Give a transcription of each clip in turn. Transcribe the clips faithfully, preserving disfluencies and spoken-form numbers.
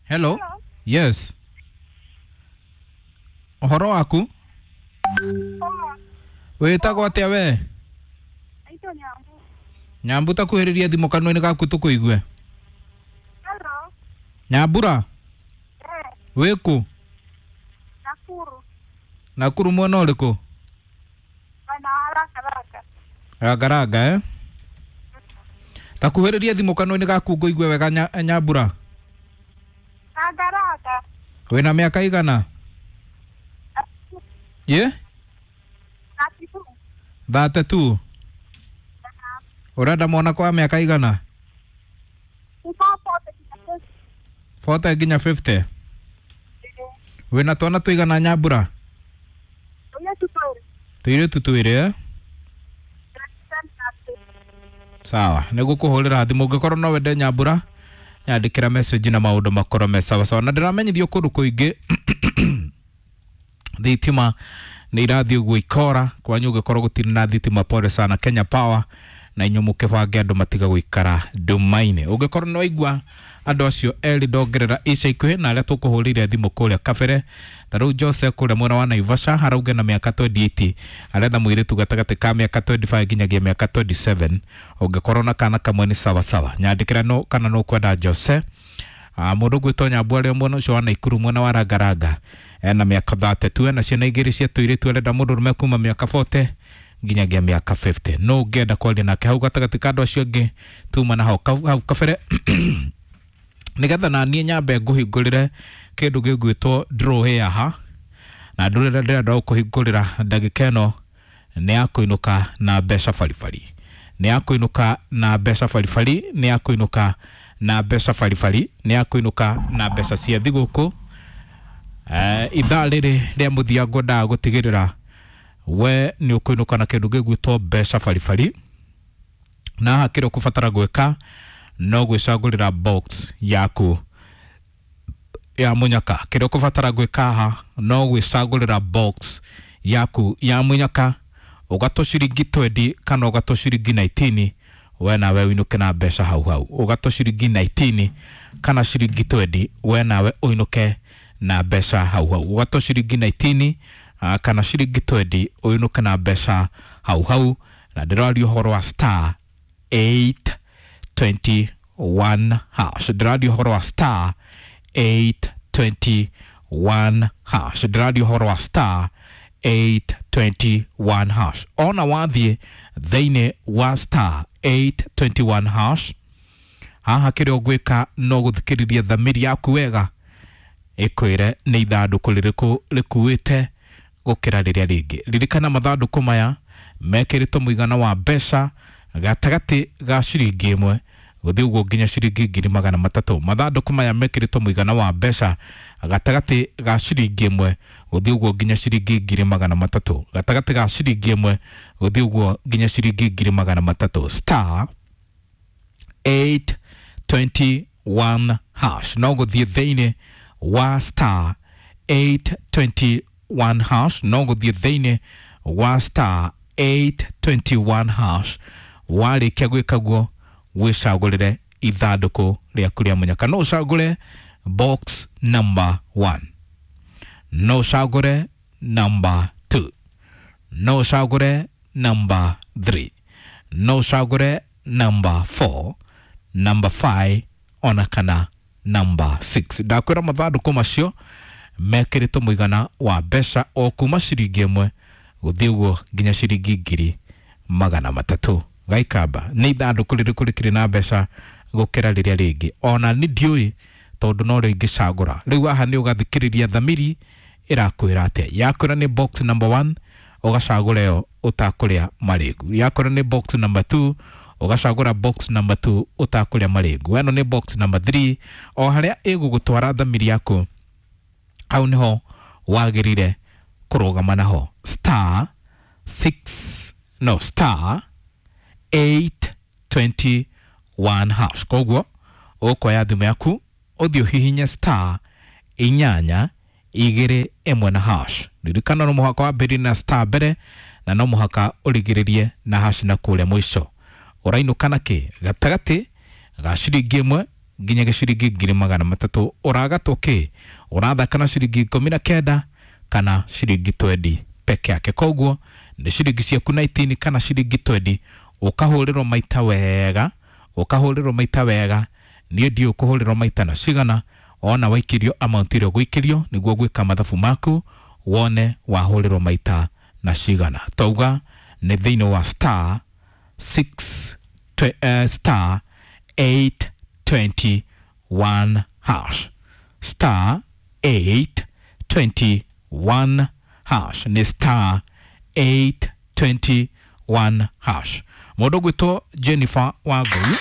Hello. Yes, ũhoro waku? Wĩtagwo atĩa we? Naitwa Nyambu. Nyambu, takuhĩrĩria thimũ kanua-inĩ gaku tũkũigue. Hello. Nyambura. Eh, wĩkũ? Nakuru. Nakuru mwena ũrĩkũ? Mwena wa Rakaraka. Rangaranga eh? Takuhĩrĩria thimũ kanua-inĩ gaku ngũigue wega nya, Nyambura. Rakaraka. Wĩna mĩaka igana? Ye? Thirty-two. Thate tu. Ũrenda mwana kwa mĩaka igana? Kuma forty nginya fifty. Forty nginya fifty. Wĩna twana tũigana, Nyambura? Tũirĩtu twĩrĩ. Tũirĩtu twĩrĩ eh? Ten thirty. Sawa, nĩ gũkũhũrĩra thimũ ũngĩkorwo no wende Nyambura, nyandĩkĩra message na maũndũ makorwo me sawa sawa. Na ndĩramenyithio kũndũ kũingĩ thitima nĩ irathiĩ ũguo ikora kwanyu. Ũngĩkorwo gũtirĩ na thitima, pole sana, Kenya Power na inyuĩ mũkĩbange andũ matiga gũikara nduma-inĩ. Ũngĩkorwo nĩ waigua andũ acio erĩ ndongerera ica ikuhĩ na arĩa tũkũhũrĩire thimũ kũrĩa kabere, ta rĩu Jose kũrĩa mwena wa Naivasha arauge na mĩaka mĩrongo ĩrĩ na ĩnana aretha mũirĩtu gatagatĩ ka mĩaka mĩrongo ĩrĩ na ĩtano nginyagia mĩaka mĩrongo ĩrĩ na mũgwanja. Ũngĩkorwo na kana kamwe nĩ sawa sawa, nyandĩkĩra no kana no kwenda Jose. Ah, mũndũ ũgwĩtwo Nyambu arĩa mwena ũcio wa Naikuru mwena wa Rangaranga ena mĩaka thate tu, ena ciana igĩrĩ cia tũirĩtu, arenda mũndũ ũrũme kuma mĩaka mĩrongo ĩna nginyagia mĩaka mĩrongo ĩnana. No ũngĩenda kwaria nake hau gatagatĩ ka andũ acio angĩ tuma na hau ka- hau kabere, nĩgetha na niĩ nyambe ngũhingũrĩre kĩndũ gĩgwĩtwo draw haha. Na ndũrĩra ndĩrenda gũkũhingũrĩra ndagĩka ĩno nĩ ya kũinũka na mbeca baribari, nĩ ya kũinũka na mbeca baribari, nĩ ya kũinũka na mbeca baribari, nĩ ya kũinũka na mbeca cia thigũkũ. Eh, ithaa rĩrĩ rĩa mũthia ngwendaga gũtigĩrĩra we nĩ ũkũinũka na kĩndũ gĩgwĩtwo mbeca baribari. Na haha kĩrĩa ũkũbatara gwĩka no gwĩcagũrĩra box yaku ya mũnyaka. Kĩrĩa ũkũbatara gwĩka haha no gwĩcagũrĩra box yaku ya mũnyaka, ũgatũ ciringi mĩrongo ĩrĩ kana ũgatũ ciringi ikũmi na kenda, we nawe ũinũke na mbeca hau hau. Ũgatũ ciringi ikũmi na kenda kana ciringi mĩrongo ĩrĩ, we nawe ũinũke na mbeca hau hau. Ũgatũ ciringi ikũmi na kenda ah, kana ciringi mĩrongo ĩrĩ, ũinũke na mbeca hau hau. Na ndĩraria ũhoro wa star eight twenty-one hash, ndĩraria ũhoro wa star eight twenty-one hash, ndĩraria ũhoro wa star eight twenty-one hash. Ona wathiĩ thĩinĩ wa star eight twenty-one hash haha, kĩrĩa ũgwĩka no gũthikĩrĩria thamiri yaku wega ĩkwĩre nĩ ithandũkũ rĩrĩkũ rĩkuĩte gũkĩra rĩrĩa rĩngĩ. Ririkana mathandũkũ maya mekĩrĩtwo mũigana wa mbeca gatagatĩ ga ciringi ĩmwe gũthiĩ ũguo nginya ciringi ngiri magana matatũ. Mathandũkũ maya mekĩrĩtwo mũigana wa mbeca gatagatĩ ga ciringi ĩmwe gũthiĩ ũguo nginya ciringi ngiri magana matatũ, gatagatĩ ga ciringi ĩmwe gũthiĩ ũguo nginya ciringi ngiri magana matatũ. Star eight twenty-one hash, no gũthiĩ thĩinĩ wa star eight twenty-one hash, no gũthiĩ thĩinĩ wa star eight twenty-one hash. Warĩkia gwĩka guo, wĩcagũrĩre ithandũkũ rĩaku rĩa mũnyaka. No ũcagũre box number one, no ũcagũre number two, no ũcagũre number three, no ũcagũre number four, number five ona kana number six. Ndakwĩra mathandũkũ macio mekĩrĩtwo mũigana wa mbeca o kuma ciringi ĩmwe gũthiĩ ũguo nginya ciringi ngiri magana matatũ. Gaikamba nĩ ithandũkũ rĩrĩkũ rĩkĩrĩ na mbeca gũkĩra rĩrĩa rĩngĩ? Ona nĩ ndiũĩ tondũ no rĩo ingĩcagũra. Rĩu haha nĩ ũgathikĩrĩria thamiri ĩrakwĩra atĩa. Yakwĩra nĩ box number one, ũgacagũra ĩyo ũtakũrĩa marĩngu. Yakwĩra nĩ box number two, ũgacagũra box number two ũtakũrĩa marĩngu. Ĩno nĩ box number three. O harĩa ĩgũgũtwara thamiri yaku, hau niho wagĩrĩire kũrũgama naho. Star six, no, star eight twenty-one hash. Koguo ũkoya thimũ yaku ũthiĩ ũhihinye star inyanya igĩrĩ ĩmwe na hash. Ririkana no mũhaka wambĩrĩrie na star mbere na no mũhaka ũrigĩrĩrie na hash na kũrĩa mũico. Ũrainũka na kĩ gatagatĩ ga ciringi ĩmwe nginya ciringi ngiri magana matatũ. Ũragatwo kĩ? Ũrathaka na ciringi ikũmi na kenda kana ciringi twendi peke yake. Koguo nĩ ciringi ciaku nineteen kana ciringi twendi, ũkahũrĩrwo maita wega, ũkahũrĩrwo maita wega. Niĩ ndiũĩ ũkũhũrĩrwo maita na cigana, ona waikĩrio amount ĩrĩa ũgũikĩrio nĩguo gwĩka mathabu maku wone wahũrĩrwo maita na cigana. Twauga nĩ thĩinĩ wa star six twe, uh, star eight twenty one hash, star eight twenty one hash, nĩ star eight twenty one hash. Mũndũ ũgwĩtwo Jennifer Wangũi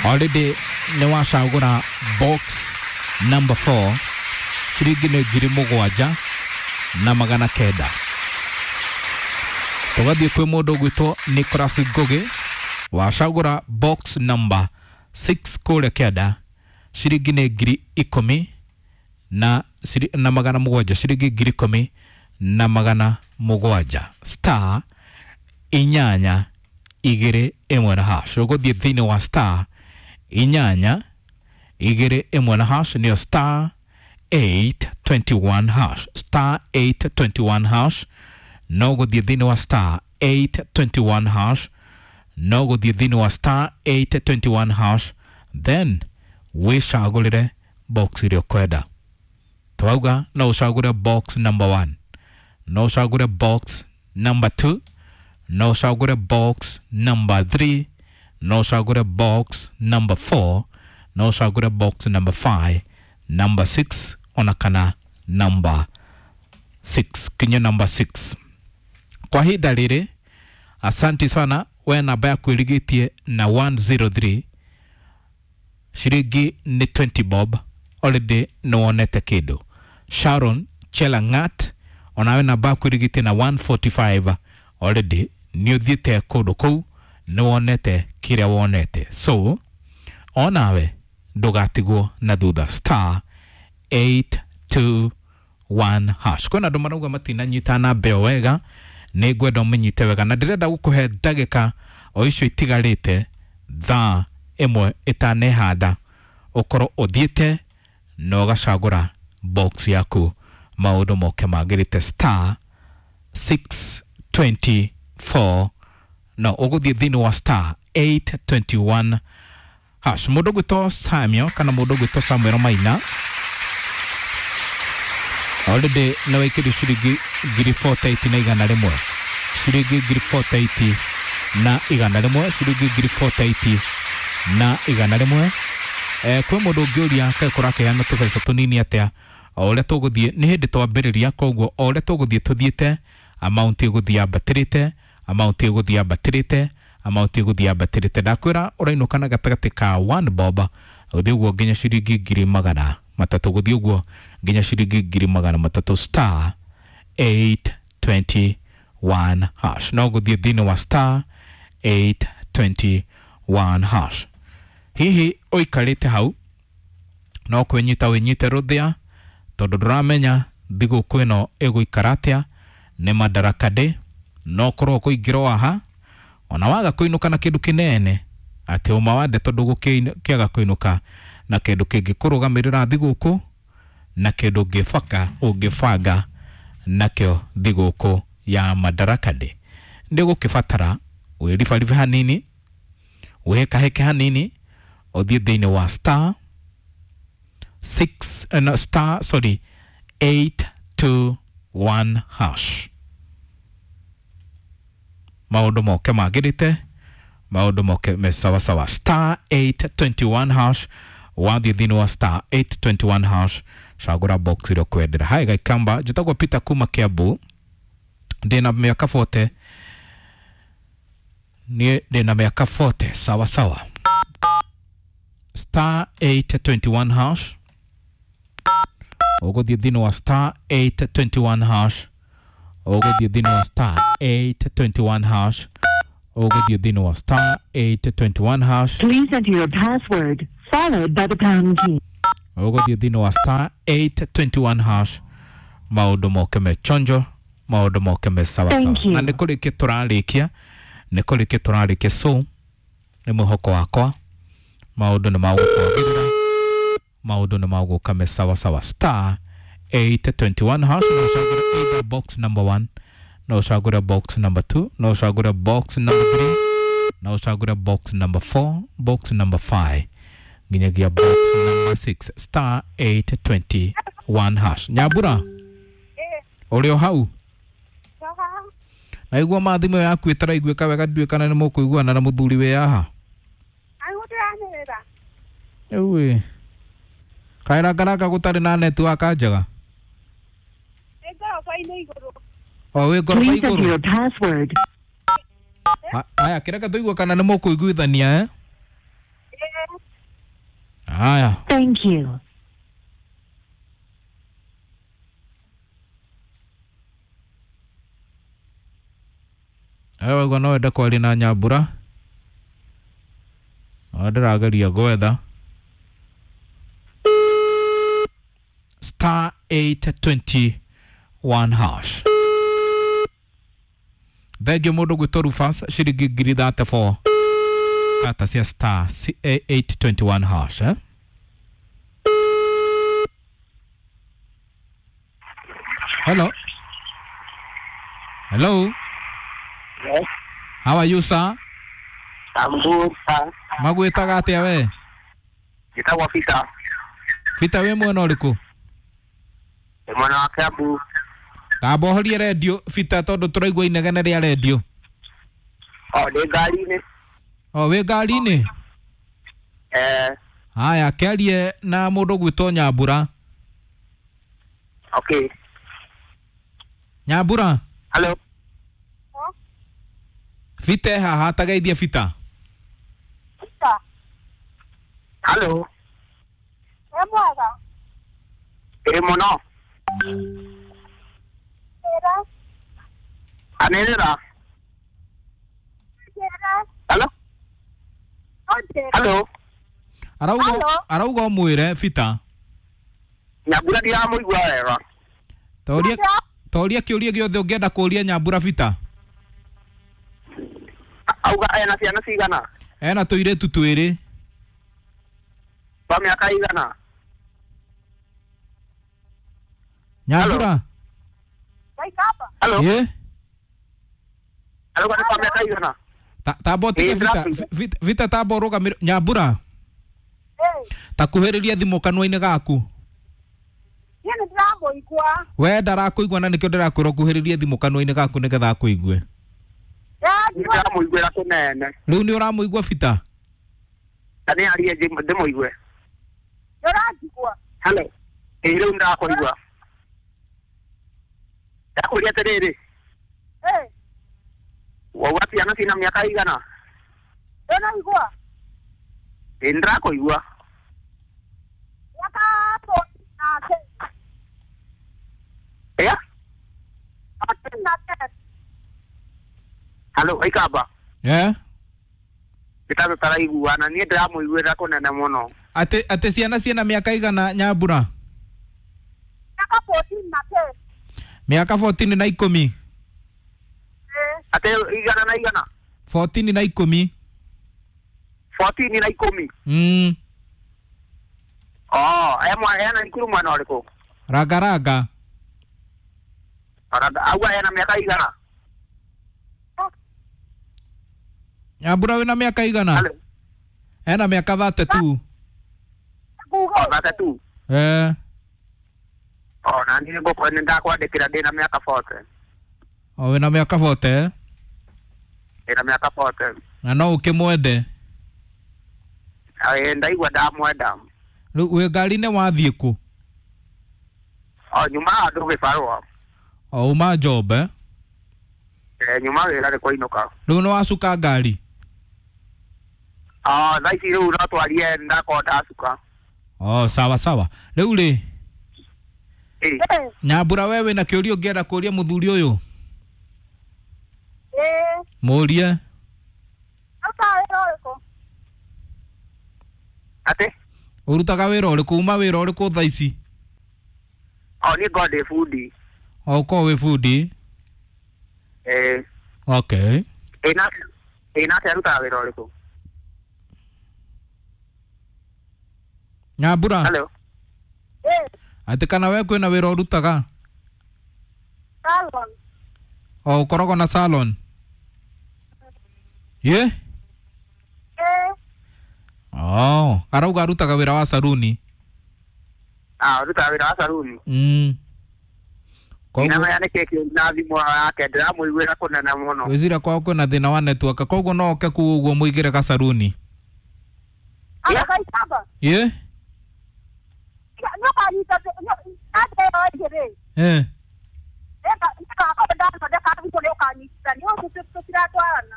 already nĩ wacagũra box number four, ciringi nĩ ngiri mũgwanja na magana kenda. Tũgathiĩ kwĩ mũndũ ũgwĩtwo Nicholas Ngugi, wacagũra box number six kũrĩa kĩanda, ciringi nĩ ngiri ikũmi na, na magana mũgwanja, ciringi ngiri ikũmi na magana mũgwanja. Star inyanya igĩrĩ ĩmwe na hash. Ũgũthiĩ thĩinĩ wa star inyanya igĩrĩ ĩmwe na hash, nĩyo star eight twenty one hash, star eight twenty one hash. No gũthiĩ thĩinĩ wa star eight twenty one hash, no gũthiĩ thĩinĩ wa star eight twenty one hash, then wĩcagũrĩre box ĩrĩa ũkwenda. Twauga no ũcagũre box number one, no ũcagũre box number two, no ũcagũre box number three, no ũcagũre box number four, no ũcagũre box number five, number six, ona kana number six, kinya number six. Kwa ihinda rĩrĩ, asanti sana we namba yaku ĩrigĩtie na one zero three, ciringi nĩ twenty bob, already nĩ wonete kĩndũ. Sharon Chelangat, onawe namba yaku ĩrigĩtie na one forty five, already nĩ ũthiĩte kũndũ kũu, nĩ wonete kĩrĩa wonete. So onawe ndũgatigwo na thutha, star eight two one hash. Kwĩna andũ marauga matinanyita namba ĩyo wega, nĩ ngwenda ũmĩnyite wega, na ndĩrenda gũkũhe ndagĩka o icio itigarĩte thaa ĩmwe ĩtanehanda, ũkorwo ũthiĩte na ũgacagũra box yaku, maũndũ moke magĩrĩte. Star six twenty four, no ũgũthiĩ thĩinĩ wa star eight twenty one hash. Mũndũ ũgwĩtwo Samuel kana mũndũ ũgwĩtwo Samuel Maina already nĩ waikĩrio ciringi ngiri forty eight na igana rĩmwe, ciringi ngiri forty eight na igana rĩmwe, ciringi ngiri forty eight na igana rĩmwe. Eh, kwĩ mũndũ ũngĩũria kaĩ kũrakĩheana tũbeca tũnini atĩa, o ũrĩa tũgũthiĩ nĩ hĩndĩ twambĩrĩria, koguo o ũrĩa tũgũthiĩ tũthiĩte amount ĩgũthiĩ yambatĩrĩte, amount ĩgũthiĩ yambatĩrĩte, amount ĩgũthiĩ yambatĩrĩte. Ndakwĩra ũrainũka na gatagatĩ ka one bob gũthiĩ ũguo nginya ciringi ngiri magana matatũ, gũthiĩ ũguo nginya ciringi ngiri magana matatũ. Star eight twenty one hash, no gũthiĩ thĩinĩ wa star eight twenty one hash. Hihi ũikarĩte hau no kwĩnyita wĩnyite rũthĩa, tondũ ndũramenya thigũkũ ĩno ĩgũikara atĩa. Nĩ Madaraka Day, no korwo kũingĩrwo haha ona waga kũinũka na kĩndũ kĩnene, atĩ ũma wa ndeto ndũgũkĩaga kũinũka na kĩndũ kĩngĩkũrũgamĩrĩra thigũkũ, na kĩndũ ũngĩbaka ũngĩbanga nakĩo thigũkũ ya Madaraka Day. Ndĩgũkĩbatara wĩribaribe hanini, wĩhĩkahĩke hanini, ũthiĩ thĩinĩ wa star six, uh, no, star sorry eight two one hash. Maũndũ moke magĩrĩte, maũndũ moke me sawasawa. Star eight twenty one hash, wathiĩ thĩinĩ wa star eight twenty one hash, cagũra box ĩrĩa ũkwendera. Hai Gaikamba, njĩtagwo Peter kuma Kiambu, ndĩna mĩaka forty, niĩ ndĩna mĩaka forty, sawa sawa. Star eight twenty one hash, ũgũthiĩ thĩinĩ wa star eight twenty one hash, ũgũthiĩ thĩinĩ wa star eight twenty one hash, ũgũthiĩ thĩinĩ wa star eight twenty one hash. Please enter your password followed by the pound key. Ũgũthiĩ thĩinĩ wa star eight twenty one hash, maũndũ moke me chonjo, maũndũ moke me sawa sawa. Thank you. Na nĩ kũrĩkia tũrarĩkia, nĩ kũrĩkia tũrarĩkia, so Nĩ mwĩhoko wakwa maũndũ nĩ magũkwagĩrĩra, maũndũ nĩ magũka me sawa sawa. Star eight twenty-one hash, no ũcagũre either box number one, no ũcagũre box number two, no ũcagũre box number three, no ũcagũre box number four, box number five nginyagia box number six. Star eight twenty-one hash. Nyambura, ũrĩ o hau? Naigua ma thimũ yaku ĩtaraiguĩka wega, ndiũĩ kana nĩ mũkũiguana na mũthuri wĩ haha. Rĩu ĩ kaĩ Rangaranga gũtarĩ na network njega? O wĩ ngoroba Please enter igũrũ. your password. Aya, kĩreke tũigue kana nĩ mũkũiguithania eh? Aya. Thank you. Aya, waigua no wende kwaria na Nyambura, o ndĩrageria gwetha. Star eight twenty-one hash. Thengio mũndũ gwĩtwo Rufus ciringi ngiri thirty-four kata cia star eight twenty-one hash eh? Hello. Hello. Yes. How are you, sir? I'm good, sir. Magwĩtaga atĩa we? Njĩtagwo Peter. Peter, wĩ mwena ũrĩkũ? Ndĩ mwena wa Kiambu. Tamba ũhorie redio Peter, tondũ tũraigua inegene rĩa redio. O, ndĩ ngari-inĩ. O, wĩ ngari-inĩ? Eh. Haya, kĩarie na mũndũ ũgwĩtwo Nyambura. Okay. Nyambura. Hello. Peter haha, tageithie Peter. Peter. Hello. Wĩ mwega? Ĩ mũno. Njĩra. Anĩrĩra. Njĩra. Hello. Ũnjĩre. Hello. Arauga Hello. arauga ũmwĩre Peter. Nyambura ndiramũigua wega. Toria toria kĩũria gĩothe ũngĩenda kũũria Nyambura Peter. Auga ena ciana cigana? Ena tũirĩtu twĩrĩ. Twa mĩaka igana? Nyambura. Hello. Ĩ? Arauga nĩ twa mĩaka igana? Tamba ũtige Peter, Peter tamba ũrũgamĩre Nyambura. Takuhĩrĩria thimũ kanua-inĩ gaku. Niĩ nĩ ndĩramũigua. We ndarakũigua na nĩkĩo ndĩrakwĩra ũkuhĩrĩrie thimũ kanua-inĩ gaku nĩgetha akũigue. Ndĩramũiguĩra kũnene. Rĩu nĩ ũramũigua Peter? Ta nĩ arie ndĩmũigue. Nĩ ũranjigua? Hello. Ĩ rĩu ndĩrakũigua. Ndakũria atĩrĩrĩ. Ĩ. Wauga ciana cina mĩaka igana? Ndũraigua? Ĩ nĩndĩrakũigua. Mĩaka fourteen na ten. Ĩa? Fourteen na ten. Hello, Aikamba. Eh? Nĩ ta tũtaraiguana, niĩ ndĩramũiguĩra kũnene mũno. Atĩ atĩ ciana ciĩna mĩaka igana Nyambura? Mĩaka fourteen na ten. Mĩaka fourteen na ikũmi. Atĩ igana na igana? fourteen na ikũmi. fourteen na ikũmi? Mm. Oh, ena thukuru mwena ũrĩkũ? Rangaranga. Ranga, auga ena mĩaka igana? Nyambura wĩna mĩaka igana? Ena mĩaka thirty-two. Oh, thirty-two? Eh. Oh, na niĩ ngũkũ nĩ ndakwandĩkĩra ndĩna mĩaka forty. Oh, wĩna mĩaka forty? Ndĩna mĩaka forty. Na no ũkĩmwende? Ĩ, ndaigua ndamwenda. Rĩu wĩ ngari-inĩ wathiĩ kũ? Oh, nyuma handũ gĩbarũa. Oh, uma job eh? Eh, nyuma wĩra nĩ kũinũka. Rĩu nĩ wacuka ngari? Oh, thaa ici rĩu no twarie ndakorwo ndacuka. Oh, sawa sawa. Rĩu rĩ, Ĩ. Nyambura we wĩna kĩũria ũngĩenda kũũria mũthuri ũyũ? Ĩ. Mũũrie. Ũrutaga wĩra ũrĩkũ? Atĩ? Ũrutaga wĩra ũrĩkũ? Uma wĩra ũrĩkũ thaa ici? Oh, niĩ ngoragwo ndĩ bundi. Oh, ũkoragwo wĩ bundi? Ĩ. Okay. Ĩ nake ĩ nake arutaga wĩra ũrĩkũ? Nyambura. Hello. Eh. Atĩ kana we kwĩna wĩra ũrutaga? Salon. O ũkoragwo na salon? Ye? Eh. Oh, arauga arutaga wĩra wa saruni. Ah, ũrutaga wĩra wa saruni. Mm. Koguo Ndinamenya nĩkĩ kĩũru na thimũ yake, ndĩramũiguĩra kũnene mũno. gwĩciria kwao kwĩna thĩna wa network, koguo no oke kuu ũguo mũigĩre gasaruni. Yeah. Akaitaba. Ye? Nĩũkanyita ande ĩyo ĩngĩ rĩ. Eh. Nĩgakorwo ndathondeka thimũ nĩũkanyitithania ũguo tũtiratwarana.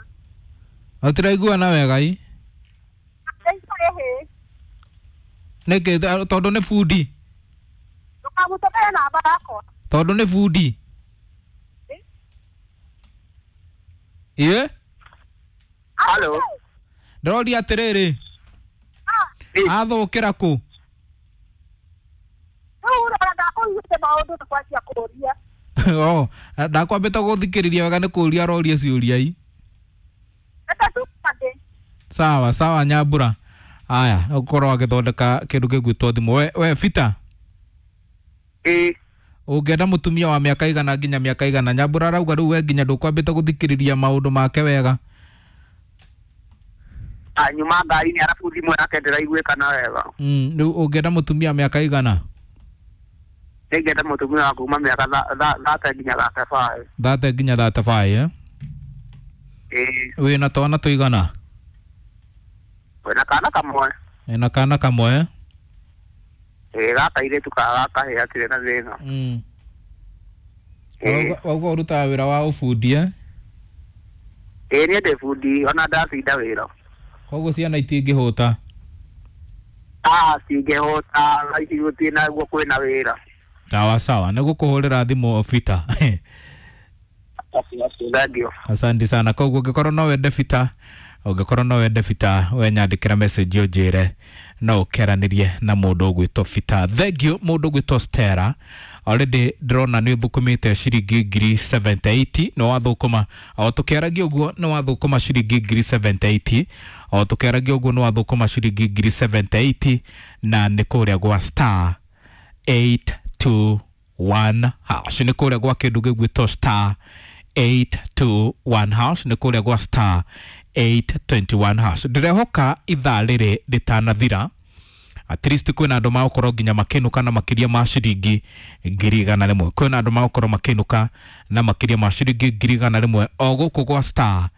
Tũtiraiguana wega i? Ĩhĩ. Nĩkĩ? Tondũ nĩ bundi. Ndũkamũtũmĩre namba yakwa. Tondũ nĩ bundi. Ye? Hello. Ndĩroria atĩrĩrĩ, athũkĩra kũ? Rĩu ũrona ndakũiguĩte maũndũ nĩ kwanjia kũũria. Oh, ndakwambĩte gũthikĩrĩria wega nĩ kũũria aroria ciũria i. Reke tũkande. Sawa sawa Nyambura. Aya, ũkorwo agĩthondeka kĩndũ gĩgwĩtwo thimũ. We, we Peter, Ĩĩ. ũngĩenda mũtumia wa mĩaka igana nginya mĩaka igana? Nyambura arauga rĩu we nginya ndũkwambĩte gũthikĩrĩria maũndũ make wega. Ah, nyuma ngari-inĩ arabu thimũ yake ndĩraiguĩkana wega. Mm, rĩu ũngĩenda mũtumia wa mĩaka igana? Nĩngĩenda mũtumia wa kuma mĩaka thate nginya thate five. Thate nginya thate five, eh? Ĩĩ. Wĩna twana tũigana? Wĩna kana kamwe. Wĩna kana kamwe, eh? Ĩĩ, gaka airĩtu ka gakahĩ gatirĩ na thĩna. Mm. Ĩĩ. Wauga ũrutaga wĩra wa ũbundi, eh? Ĩĩ, niĩ ndĩ bundi ona ndacinda wĩra. Koguo ciana itingĩhũta? Ah, cingĩhũta thaa ici gũtirĩ naguo kwĩna wĩra. Sawa sawa, nĩ gũkũhũrĩra thimũ Peter. Thank you. Asante sana. Koguo ũngĩkorwo no wende Peter, ũngĩkorwo no wende Peter, we nyandĩkĩra message ũnjĩre no ũkeranĩrie na mũndũ ũgwĩtwo Peter. Thank you mũndũ ũgwĩtwo Stella. Already ndĩrona nĩ ũthũkũmĩte ciringi ngiri seventy eight, nĩ wathũkũma. O tũkĩaragia ũguo nĩ wathũkũma ciringi ngiri seventy eight. O tũkĩaragia ũguo nĩ wathũkũma ciringi ngiri seventy eight, na nĩ kũrĩa gwa star eight two one hash. Nĩ kũrĩa gwa kĩndũ gĩgwĩtwo star eight two one hash, nĩ kũrĩa gwa star eight twenty one hash. Ndĩrehoka ithaa rĩrĩ rĩtanathira at least kwĩna andũ magũkorwo nginya makĩinũka na makĩria ma ciringi ngiri igana rĩmwe. Kwĩna andũ magũkorwo makĩinũka na makĩria ma ciringi ngiri igana rĩmwe o gũkũ gwa star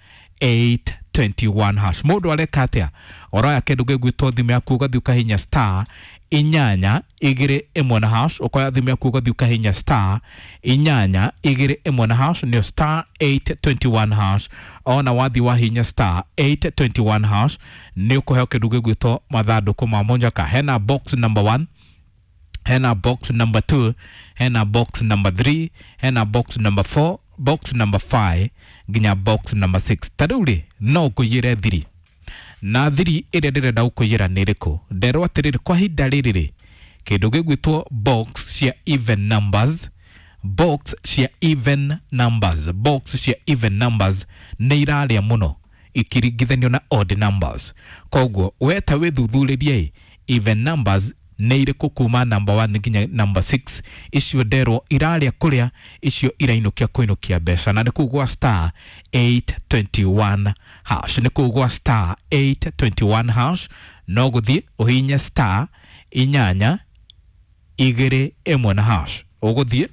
eight twenty one hash. Mũndũ areka atĩa? Ũroya kĩndũ gĩgwĩtwo thimũ yaku ũgathiĩ ũkahihinya star inyanya igĩrĩ ĩmwe na hash. Ũkoya thimũ yaku ũgathiĩ ũkahihinya star inyanya igĩrĩ ĩmwe na hash, nĩyo star eight twenty one hash. Ona wathiĩ wahihinya star eight twenty one hash nĩ ũkũheo kĩndũ gĩgwĩtwo mathandũkũ ma mũnyaka. Hena box number one, hena box number two, hena box number three, hena box number four, box number five nginya box number six. Ta rĩu rĩ, no ngũiyĩre thiri, na thiri ĩrĩa ndĩrenda gũkũiyĩra nĩ ĩrĩkũ? Nderwo atĩrĩrĩ, kwa ihinda rĩrĩ rĩ, kĩndũ gĩgwĩtwo box cia even numbers, box cia even numbers, box cia even numbers nĩ irarĩa mũno ikiringithanio na odd numbers. Koguo we ta wĩthuthurĩrie even numbers nĩ irĩkũ kuma number one nginya number six. Icio nderwo irarĩa kũrĩa, icio irainũkia kũinũkia mbeca, na nĩ kũu gwa star eight twenty one hash. Nĩ kũu gwa star eight twenty one hash, no gũthiĩ ũhihinye star inyanya igĩrĩ ĩmwe na hash. Ũgũthiĩ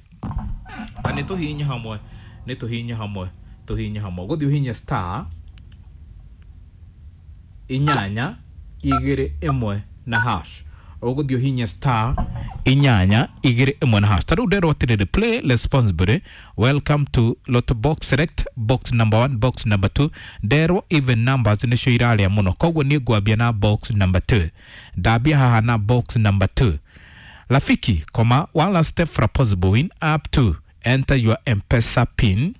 na nĩ tũhihinye hamwe, nĩ tũhihinye hamwe, tũhihinye hamwe. Ũgũthiĩ ũhihinye star inyanya igĩrĩ ĩmwe na hash. Ũgũthiĩ ũhihinye star inyanya igĩrĩ ĩmwe na hash. Ta rĩu nderwo atĩrĩrĩ, play responsibly, welcome to Lotto box, select box number one, box number two. Nderwo even numbers nĩcio irarĩa mũno, koguo niĩ ngwambia na box number two. Ndambia haha na box number two. Rafiki, comma, one last step for a possible win, up to enter your M-Pesa pin.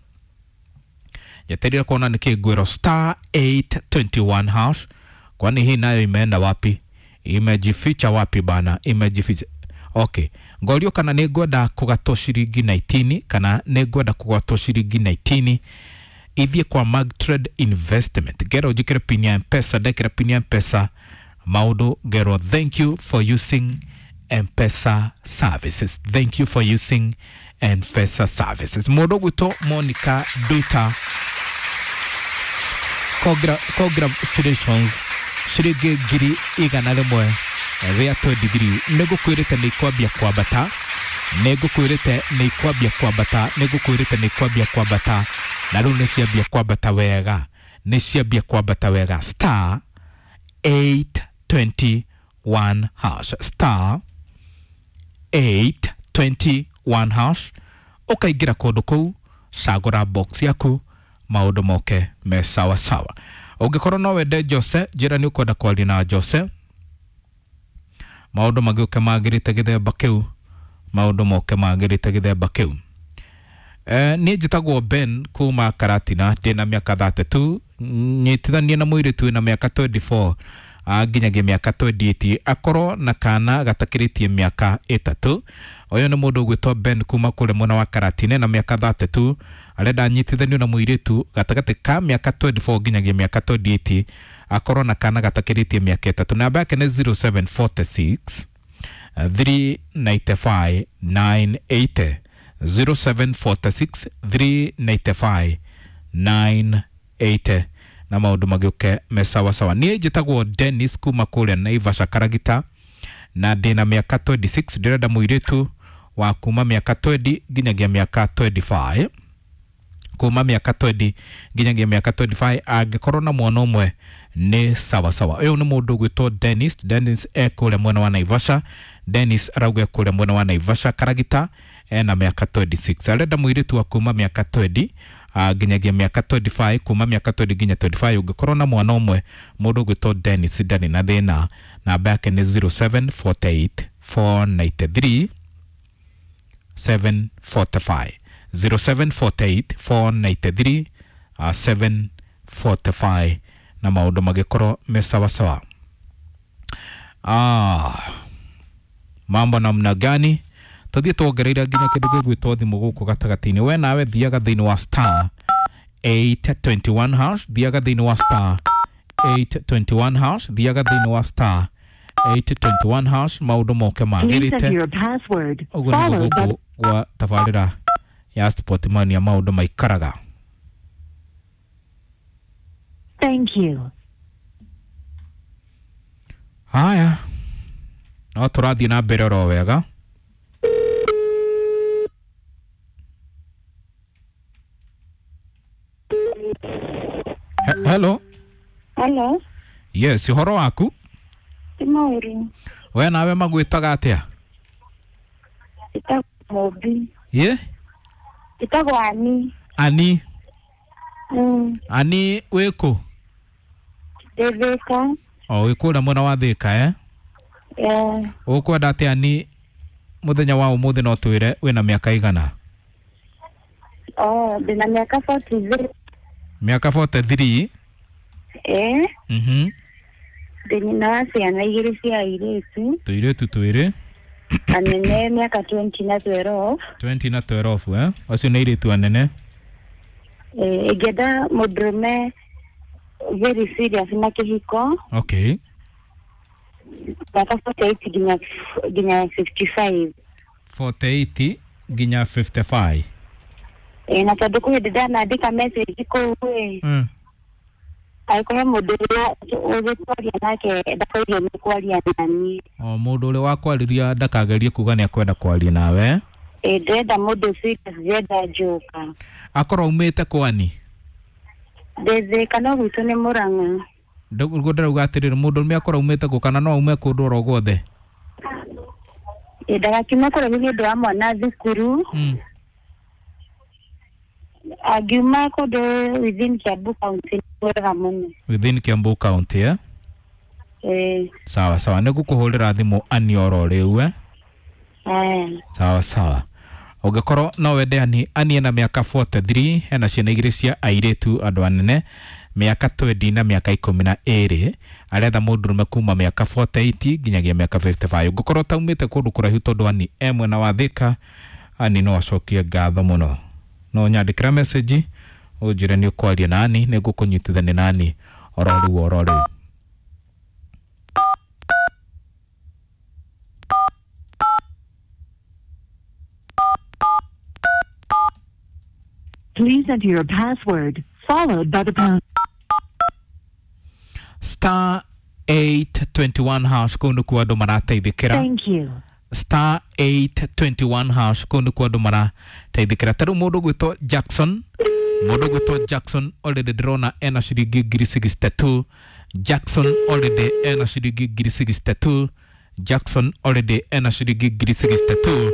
Nyeterera kuona nĩkĩ ngwĩrwo star eight twenty one hash. Kwani hii nayo imeenda wapi? Imejificha wapi bana? Imejificha. Okay. Ngorio kana nĩ ngwenda kũgatwo ciringi nineteen, kana nĩ ngwenda kũgatwo ciringi nineteen ithiĩ kwa Magtrade Investment. Ngera ũnjĩkĩre pin ya M-Pesa, ndekĩra pin ya M-Pesa. Maũndũ ngerwo thank you for using M-Pesa services, thank you for using M-Pesa services. Mũndũ ũgwĩtwo Monica Duta, Congra, congratulations, ciringi ngiri igana rĩmwe rĩa twenty-three. Nĩ ngũkwĩrĩte nĩ ikwambia kwambata, nĩ ngũkwĩrĩte nĩ ikwambia kwambata, nĩ ngũkwĩrĩte nĩ ikwambia kwambata, na rĩu nĩ ciambia kwambata wega, nĩ ciambia kwambata wega. Star eight twenty-one hash, star eight twenty-one hash, ũkaingĩra kũndũ kũu, cagũra box yaku, maũndũ moke me sawa sawa. Ũngĩkorwo no wende Jose, njĩra nĩ ũkwenda kwaria na Jose, maũndũ magĩũke magĩrĩte gĩthemba kĩu, maũndũ moke magĩrĩte gĩthemba kĩu. Eh, niĩ njĩtagwo Ben kuma Karatina, ndĩna mĩaka thirty-two, nyitithanie na mũirĩtu wĩna mĩaka twenty-four nginyagia mĩaka twenty-eight, akorwo na kana gatakĩrĩtie mĩaka ĩtatũ. Ũyũ nĩ mũndũ ũgwĩtwo Ben kuma kũrĩa mwena wa Karatina na mĩaka thirty-two, arenda anyitithanio na mũirĩtu gatagatĩ ka mĩaka twenty-four nginyagia mĩaka twenty-eight, akorwo na kana gatakĩrĩtie mĩaka ĩtatũ. Namba yake nĩ zero seven four six three nine five nine eight, zero seven four six three nine five nine eight, na maũndũ magĩũke me sawa sawa. Niĩ njĩtagwo Dennis kuma kũrĩa Naivasha Karagita, na ndĩna mĩaka twenty-six, ndĩrenda mũirĩtu wa kuma mĩaka twenty nginyagia mĩaka twenty-five, kuma mĩaka twenty nginyagia mĩaka twenty-five, angĩkorwo na mwana ũmwe nĩ sawa sawa. Ũyũ nĩ mũndũ ũgwĩtwo Dennis. Dennis e kũrĩa mwena wa Naivasha. Dennis arauga kũrĩa mwena wa Naivasha Karagita, ena mĩaka twenty-six, arenda mũirĩtu wa kuma mĩaka twenty nginyagia mĩaka twenty-five, kuma mĩaka twenty nginya twenty-five, ũngĩkorwo na mwana ũmwe, mũndũ ũgwĩtwo Dennis ndarĩ na thĩna. Namba yake nĩ zero seven four eight four nine three seven four five, zero seven four eight four nine three seven four five, na maũndũ magĩkorwo me sawa sawa. Ah, mambo namna gani? Tũthiĩ tuongereire nginya kĩndũ gĩgwĩtwo thimũ gũkũ gatagatĩ-inĩ. We nawe thiaga thĩinĩ wa star eight twenty-one hash, thiaga thĩinĩ wa star eight twenty-one hash, thiaga thĩinĩ wa star eight twenty-one hash, maũndũ moke magĩrĩte. Ũguo nĩguo gũkũ gwa tabarĩra ya Sport Mania maũndũ maikaraga. Thank you. Haya, no tũrathiĩ na mbere oro wega. Hello. Hello. Yes, ũhoro waku? Ti mũũru. We nawe magwĩtaga atĩa? Njĩtagwo Mũmbi. Ye? Njĩtagwo Ani. Ani. Mm. Ani wĩ kũ? Ndĩ Thĩka. O wĩ kũrĩa mwena wa Thĩka, eh? Eh. Ũkwenda atĩa Ani mũthenya wa ũmũthĩ no twĩre wĩna mĩaka igana? Oh, ndĩna mĩaka forty-three. Mĩaka forty-three? Eh. Mhm. Ndĩ nyina wa ciana igĩrĩ cia airĩtu. Tũirĩtu twĩrĩ. Anene mĩaka twenty na twelve. twenty na twelve, eh? Acio nĩ airĩtu anene. Eh, ingĩenda mũndũrũme very serious na kĩhiko. Okay. Mĩaka forty-eight nginya nginya fifty-five. forty-eight nginya fifty-five. Eh, na tondũ kwĩ hĩndĩ ndanandĩka message kũu ĩ. Mm. Angĩkorwo mũndũ ũrĩa ũgĩkwaria nake ndakagerie nĩ kwaria na niĩ. O mũndũ ũrĩa wakwarĩria ndakagerie kuga nĩ akwenda kwaria nawe. Ĩ, ndĩrenda mũndũ serious, ndĩrenda njoka. Akorwo aumĩte kwani? Ndĩ Thĩka no gwitũ nĩ Mũrang'a. Nĩguo ndĩrauga atĩrĩrĩ, mũndũ ũrĩa akorwo aumĩte kũ kana no aume kũndũ oro guothe? Ĩ, ndagakiume kũraihu nĩ ũndũ wa mwana thukuru. Mm. Angiuma kũndũ within Kiambu County nĩ wega mũno. Within Kiambu County, eh? Ĩ. Sawa sawa, nĩ ngũkũhũrĩra thimũ Ani oro rĩu, eh? Eh. Sawa sawa. Ũngĩkorwo no wende Ani, Ani ena mĩaka forty-three, ena ciana igĩrĩ cia airĩtu andũ anene, mĩaka twenty na mĩaka ikũmi na ĩrĩ, aretha mũndũrũme kuma mĩaka forty-eight nginyagia mĩaka fifty-five. Ũngĩkorwo ũtaumĩte kũndũ kũraihu tondũ Ani e mwena wa Thĩka, Ani no acokie ngatho mũno. No nyandĩkĩra message ũnjĩre nĩ ũkwaria na Ani, nĩ ngũkũnyitithania na Ani oro rĩu oro rĩu. Please enter your password followed by the pound. Star eight twenty-one hash kũu nĩkuo andũ marateithĩkĩra. Thank you. Star eight twenty-one hash kũu nĩkuo andũ marateithĩkĩra. Ta rĩu mũndũ ũgwĩtwo Jackson, mũndũ ũgwĩtwo Jackson already ndĩrona ena ciringi ngiri sixty-two. Jackson already ena ciringi ngiri sixty-two. Jackson already ena ciringi ngiri sixty-two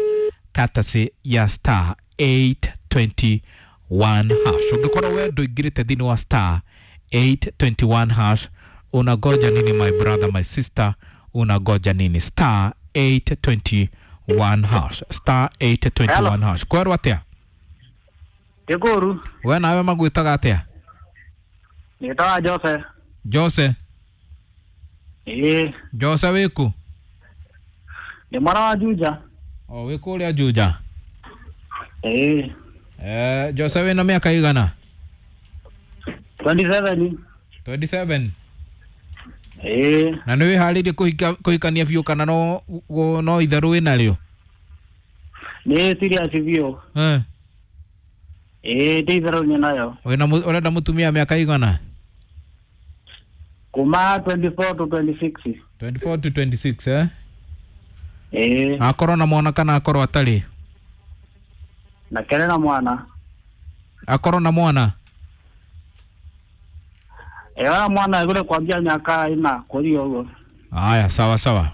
courtesy ya star eight twenty-one hash. Ũngĩkorwo we ndũingĩrĩte thĩinĩ wa star eight twenty-one hash, unagoja nini my brother, my sister? Unagoja nini? Star eight twenty-one hash, star eight twenty-one hash. Kwerwo atia? Ndikuru. We nawe magwĩtaga atia? Nĩtawa Jose. Jose. Ĩĩ. Jose wĩkũ? Ndĩ mwana wa Juja. O wĩ kũrĩa Juja? Ĩĩ. Eh, Jose wĩna mĩaka igana? twenty-seven. twenty-seven. Ĩĩ. Na nĩ wĩharĩirie kũhika kũhikania biũ kana no no itherũ wĩnarĩo? Nĩ serious biũ. Eh. Ĩĩ, ndĩ itherũ nyinayo. Wĩna ũrenda mũtumia mĩaka igana? Kuma twenty-four to twenty-six. twenty-four to twenty-six, eh? Ĩĩ. Akorwo na mwana kana akorwo atarĩ? Na kere na mwana. Akorwo na mwana? Ĩĩ, mwana egũre kwambia mĩaka ĩna kũria ũguo. Aya, sawa sawa.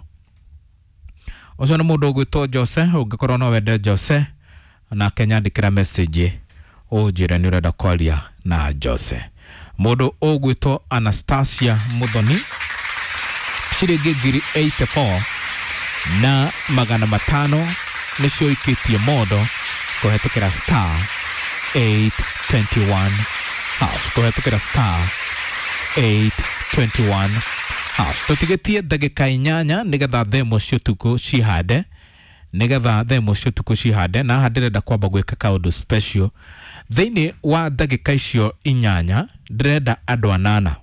Ũcio nĩ mũndũ ũgwĩtwo Jose, ũngĩkorwo no wende Jose nake nyandĩkĩra message ũnjĩre nĩ ũrenda kwaria na Jose. Mũndũ ũgwĩtwo Anastasia Muthoni ciringi ngiri eighty-four na magana matano nĩcio ikĩtie mondo kũhetũkĩra star eight twenty-one hash, kũhetũkĩra star eight twenty-one hash. Tũtigĩtie ndagĩka inyanya nĩgetha themo cia ũtukũ cihande, nĩgetha themo cia ũtukũ cihande, na haha ndĩrenda kwamba gwĩka kaũndũ special thĩinĩ wa ndagĩka icio inyanya. Ndĩrenda andũ anana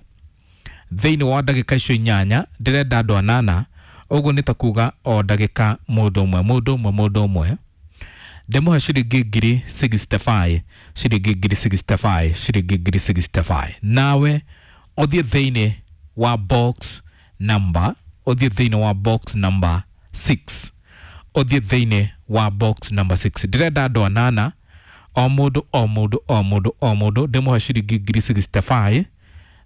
thĩinĩ wa ndagĩka icio inyanya, ndĩrenda andũ anana. Ũguo nĩ ta kuga o ndagĩka mũndũ ũmwe mũndũ ũmwe mũndũ ũmwe ndĩmũhe ciringi ngiri sixty-five, ciringi ngiri sixty-five, ciringi ngiri sixty-five. Nawe ũthiĩ thĩinĩ wa box number, ũthiĩ thĩinĩ wa box number six, ũthiĩ thĩinĩ wa box number six. Ndĩrenda andũ anana, o mũndũ o mũndũ o mũndũ o mũndũ ndĩmũhe ciringi ngiri sixty-five.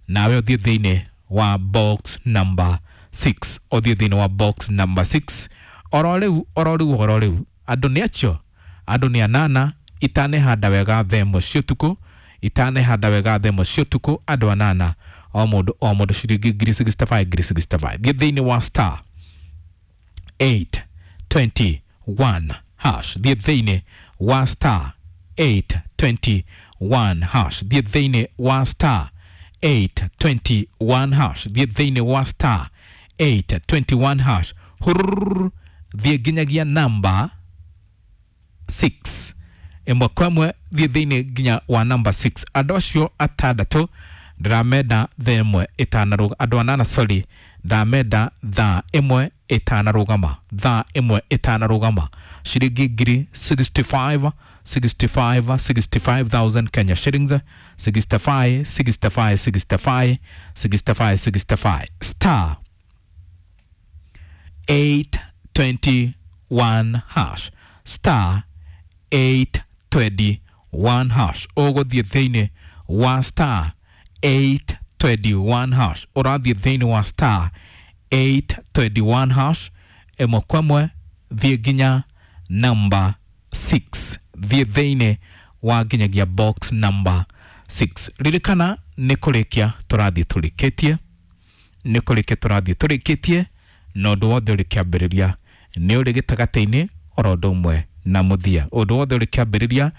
Nawe ũthiĩ thĩinĩ wa box number six, ũthiĩ thĩinĩ wa box number six. Oro rĩu oro rĩu oro rĩu andũ nĩ acio, andũ nĩ anana. Itanehanda wega themo cia ũtukũ, itanehanda wega themo cia ũtukũ, andũ anana o mũndũ o mũndũ ciringi ngiri sixty-five, ngiri sixty-five. Thiĩ thĩinĩ wa star eight twenty-one hash, thiĩ thĩinĩ wa star eight twenty-one hash, thiĩ thĩinĩ wa star eight twenty-one hash, thiĩ thĩinĩ wa star eight twenty-one hash. Hurr, thiĩ nginyagia namba six ĩmwe kwa ĩmwe, thiĩ thĩinĩ nginya wa namba six. Andũ acio atandatũ ndĩramenda thaa ĩmwe ĩtanarũgama, andũ anana sorry, ndĩramenda thaa ĩmwe ĩtanarũgama, thaa ĩmwe ĩtanarũgama, ciringi ngiri sixty-five, sixty-five, sixty-five thousand Kenya shillings, sixty-five, sixty-five, sixty-five, sixty-five, sixty-five. Star eight twenty-one hash, star eight twenty-one hash. Ũgũthiĩ thĩinĩ wa star eight twenty-one hash, ũrathiĩ thĩinĩ wa star eight twenty-one hash ĩmwe kwa ĩmwe, thiĩ nginya number six, thiĩ thĩinĩ wa nginyagia box number six. Ririkana nĩ kũrĩkia tũrathiĩ tũrĩkĩtie, nĩ kũrĩkia tũrathiĩ tũrĩkĩtie, na ũndũ wothe ũrĩ kĩambĩrĩria nĩ ũrĩ gĩtagatĩ-inĩ oro ũndũ ũmwe na mũthia. Ũndũ wothe ũrĩ kĩambĩrĩria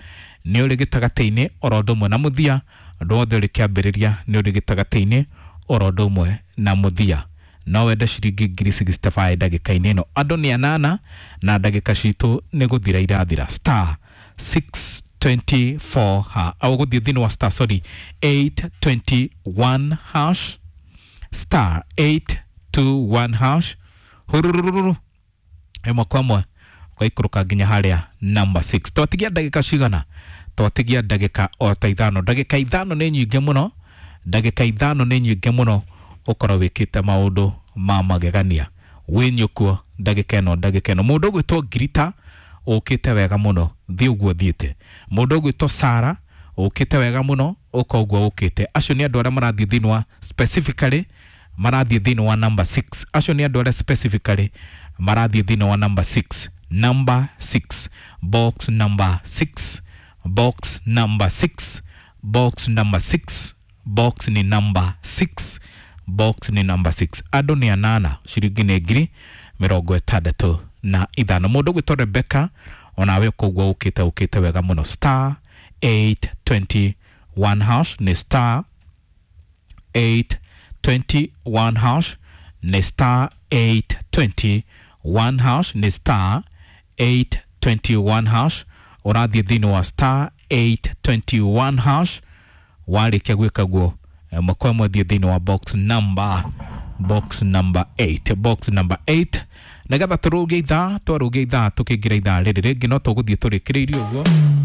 nĩ ũrĩ gĩtagatĩ-inĩ oro ũndũ ũmwe na mũthia. Ũndũ wothe ũrĩ kĩambĩrĩria nĩ ũrĩ gĩtagatĩ-inĩ oro ũndũ ũmwe na mũthia. No wende ciringi ngiri sixty-five ndagĩka-inĩ ĩno. Andũ nĩ anana na ndagĩka citũ nĩ gũthira irathira. Star six twenty-four ha, au gũthiĩ thĩinĩ wa star sorry eight twenty-one hash, star eight two one hash, hurururu ĩmwe kwa ĩmwe ũgaikũrũka nginya harĩa number six. Twatigia ndagĩka cigana? Twatigia ndagĩka o ta ithano. Ndagĩka ithano nĩ nyingĩ mũno, ndagĩka ithano nĩ nyingĩ mũno ũkorwo wĩkĩte maũndũ ma magegania wĩnyũkuo ndagĩka ĩno, ndagĩka ĩno. Mũndũ ũgwĩtwo Ngirita ũkĩte wega mũno, thiĩ ũguo thiĩte. Mũndũ ũgwĩtwo Sara ũkĩte wega mũno, ũka ũguo ũkĩte. Acio nĩ andũ arĩa marathiĩ thĩinĩ wa specifically marathiĩ thĩinĩ wa number six. Acio nĩ andũ arĩa specifically marathiĩ thĩinĩ wa number six, number six, box number six, box number six, box number six, box ni number six, box ni number six. Andũ nĩ anana, ciringi nĩ ngiri mĩrongo ĩtandatũ na ithano. Mũndũ ũgwĩtwo Rebecca, onawe koguo ũkĩte ũkĩte wega mũno. Star eight twenty-one hash, nĩ star eight twenty-one hash, nĩ star eight twenty-one hash, nĩ star eight twenty-one hash. Ũrathiĩ thĩinĩ wa star eight twenty-one hash. Warĩkia gwĩka guo, ĩmwe kwa ĩmwe thiĩ thĩinĩ wa box number box number eight, box number eight, nĩgetha tũrũgie ithaa, twarũgia ithaa tũkĩingĩra ithaa rĩrĩ rĩngĩ, no tũgũthiĩ tũrĩkĩrĩirie ũguo.